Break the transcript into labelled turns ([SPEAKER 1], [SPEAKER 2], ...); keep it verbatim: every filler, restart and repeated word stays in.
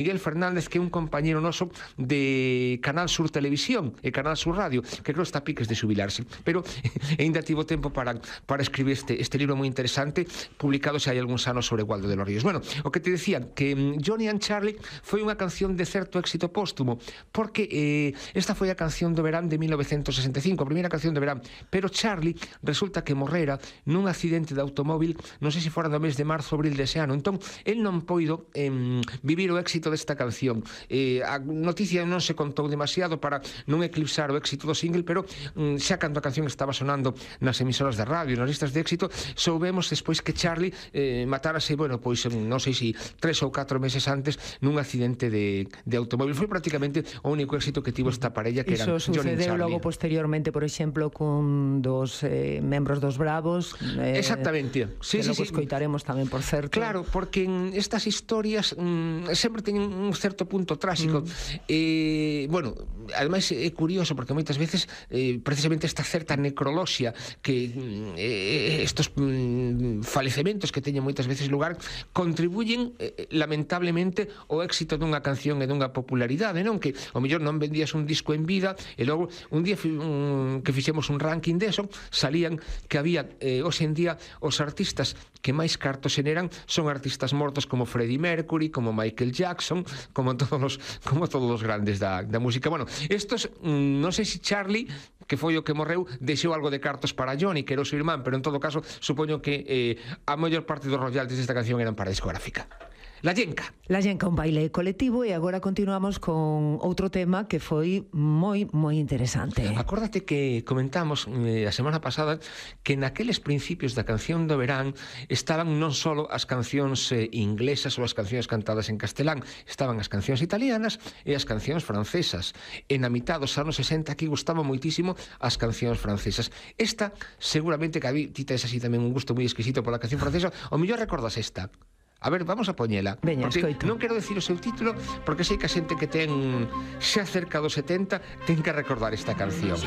[SPEAKER 1] Miguel Fernández, que é un compañero noso de Canal Sur Televisión e Canal Sur Radio, que creo está a piques de xubilarse, pero ainda tivo tempo para, para escribir este, este libro moi interesante, publicado xa hai algúns anos sobre Waldo de los Ríos. Bueno, o que te decía, que Johnny and Charlie foi unha canción de certo éxito póstumo, porque eh, esta foi a canción do verán de mil novecentos sesenta e cinco, a primeira canción do verán, pero Charlie resulta que morrera nun accidente de automóvil, non sei se fora no mes de marzo ou abril dese ano, entón, el non poido eh, vivir o éxito desta canción. Eh, a noticia non se contou demasiado para non eclipsar o éxito do single, pero mm, xa cando a canción estaba sonando nas emisoras de radio, nas listas de éxito, soubemos despois que Charlie eh, matárase, bueno, pois non sei se tres ou catro meses antes nun accidente de, de automóvil. Foi prácticamente o único éxito que tivo esta parella, que eran
[SPEAKER 2] Iso
[SPEAKER 1] Johnny e
[SPEAKER 2] sucedeu
[SPEAKER 1] Charlie.
[SPEAKER 2] logo posteriormente, por exemplo, cun dos eh, membros dos Bravos, eh,
[SPEAKER 1] exactamente, sí,
[SPEAKER 2] que
[SPEAKER 1] sí,
[SPEAKER 2] logo
[SPEAKER 1] sí.
[SPEAKER 2] escoitaremos tamén, por certo.
[SPEAKER 1] Claro, porque en estas historias mm, sempre teñen un certo punto tráxico. Mm. Eh, bueno, ademais é curioso porque moitas veces eh, precisamente esta certa necroloxia que eh, estos mm, falecementos que teñen moitas veces lugar contribuyen eh, lamentablemente ao éxito dunha canción e dunha popularidade, non? Que ao mellor non vendías un disco en vida e logo un día un, que fixemos un ranking deso, salían que había eh, hoxe en día os artistas que máis cartos xeneran son artistas mortos como Freddie Mercury, como Michael Jackson, como todos os, como todos os grandes da, da música. Bueno, estos, mmm, non sei se Charlie, que foi o que morreu, deixou algo de cartos para Johnny, que era o seu irmán, pero en todo caso, supoño que eh, a maior parte dos royalties desta canción eran para a discográfica. La Llenca.
[SPEAKER 2] La Llenca, un baile colectivo, e agora continuamos con outro tema que foi moi, moi interesante.
[SPEAKER 1] Acórdate que comentamos eh, a semana pasada que naqueles principios da canción do verán estaban non só as cancións eh, inglesas ou as cancións cantadas en castelán, estaban as cancións italianas e as cancións francesas. E na mitad dos anos sesenta aquí gustaban moitísimo as cancións francesas. Esta, seguramente que a ti tes así tamén un gusto moi exquisito pola canción francesa, o mellor recordas esta. A ver, vamos a poñela.
[SPEAKER 2] Veña,
[SPEAKER 1] porque
[SPEAKER 2] escoito.
[SPEAKER 1] Non quero decir o seu título, porque sei que a xente que ten xa cerca dos setenta ten que recordar esta canción.